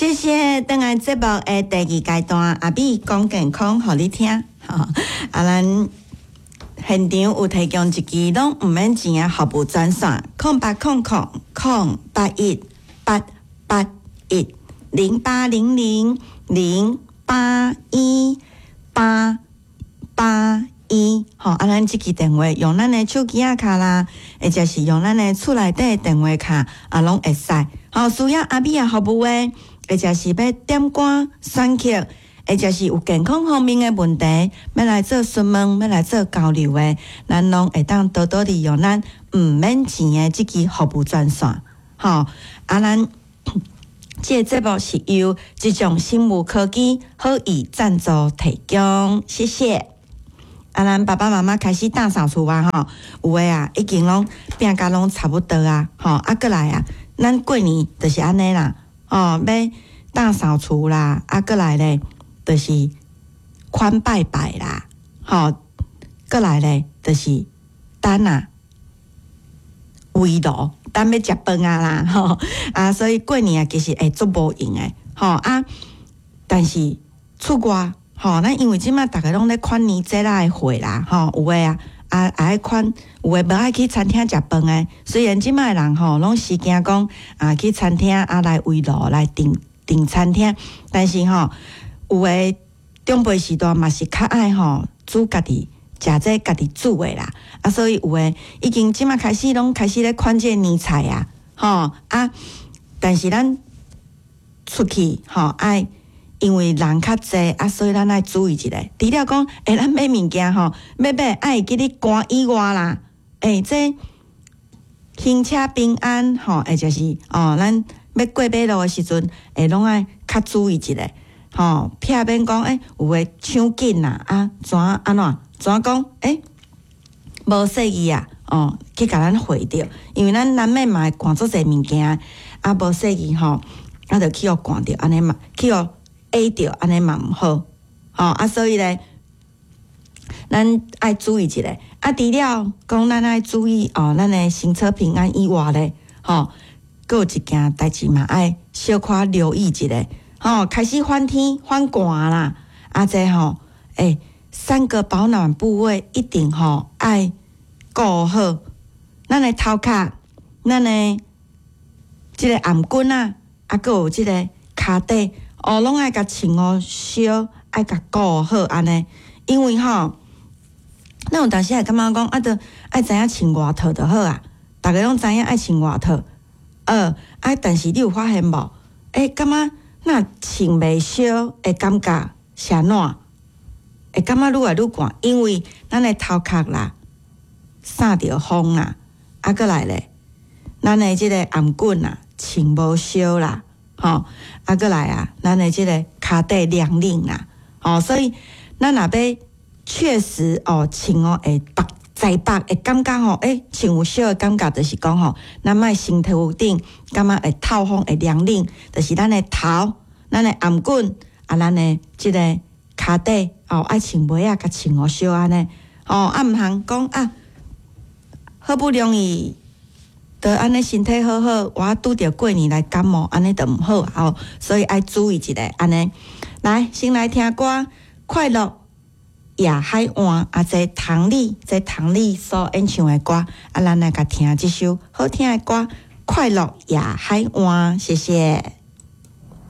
謝謝，轉來節目的第二階段，阿美講健康，予你聽。吼，啊，咱現場有提供一支攏毋免錢的服務專線，0800 081 8810800081881。吼，啊，咱這支電話用咱的手機仔敲啦，或者是用咱的厝內底的電話敲，啊，攏會使。吼，需要阿美仔服務的，或者是欲點歌選曲，或者是有健康方面的問題，欲來做詢問，欲來做交流的，咱攏會當多多利用咱毋免錢的這支服務專線。吼，啊，咱這個節目是由這種生物科技好意贊助提供，謝謝。啊，咱爸爸媽媽開始打掃除啊，吼，有的啊，已經攏拼甲攏差不多啊，吼，啊，閣來啊，咱過年就是按呢啦，哦，欲打掃除啦，啊，閣來咧，就是款拜拜啦，吼，閣來咧，就是等啊圍爐，等欲食飯啊啦，吼，啊，所以過年啊，其實會足無閒的，吼啊，但是出外。吼，咱因為這馬逐家攏咧款年節仔的貨啦，吼，有的啊，啊愛款，有的無愛去餐廳食飯的。雖然這馬的人吼，攏是驚講啊去餐廳啊來圍爐來訂訂餐廳，但是吼，有的長輩時代嘛是較愛吼煮家己食這家己煮的啦。啊，所以有的已經這馬開始攏開始咧款這個年菜啊，吼啊，但是咱出去吼愛。因為人較濟啊，所以咱愛注意一下。除了講，欸，咱買物件吼，欲買愛會記得關以外啦，欸，這行車平安吼，或者是哦，咱欲過馬路的時陣，會攏愛較注意一下，吼，避免講欸，有的搶緊啦，啊，怎按怎怎講？欸，無細意啊，哦，去共咱橫著，因為咱難免嘛會趕足濟物件，啊，無細意吼，啊，就去予趕著，按呢嘛去予挨著，按呢嘛毋好，吼啊，所以咧，咱愛注意一下。啊，除了講咱愛注意哦，咱的行車平安以外咧，吼，閣有一件代誌嘛愛小可留意一下，吼，開始反天反寒啦，啊，這吼，欸，三個保暖部位一定吼愛顧好，咱的頭殼，咱的這個頷頸仔，啊，閣有這個跤底。哦，攏愛共穿予燒，愛共顧好按呢。因為吼，咱有當時會感覺講，啊，著愛知影穿外套就好啊。逐家攏知影愛穿外套，啊，但是你有發現無？欸，感覺若穿袂燒，會感覺是按怎？會感覺愈來愈寒，因為咱的頭殼啦，曬著風啦，啊，閣來咧，咱的這個頷頸啊，穿無燒啦。吼，啊，閣來啊，咱的這個跤底涼冷啦，吼，所以咱若欲確實哦，穿哦會縛在縛會感覺吼，欸，穿有燒的感覺，就是講吼，咱莫身體頂感覺會透風會涼冷，就是咱的頭、咱的頷頸啊，咱的這個跤底哦，愛穿襪仔，共穿予燒按呢，吼，啊，毋通講啊，好不容易。著按呢身體好好，我拄著過年來感冒，按呢著毋好吼，所以愛注意一下按呢。來，先來聽歌，《快樂夜海岸》啊，這唐麗，這唐麗所演唱的歌，啊，咱來共聽這首好聽的歌，《快樂夜海岸》，謝謝。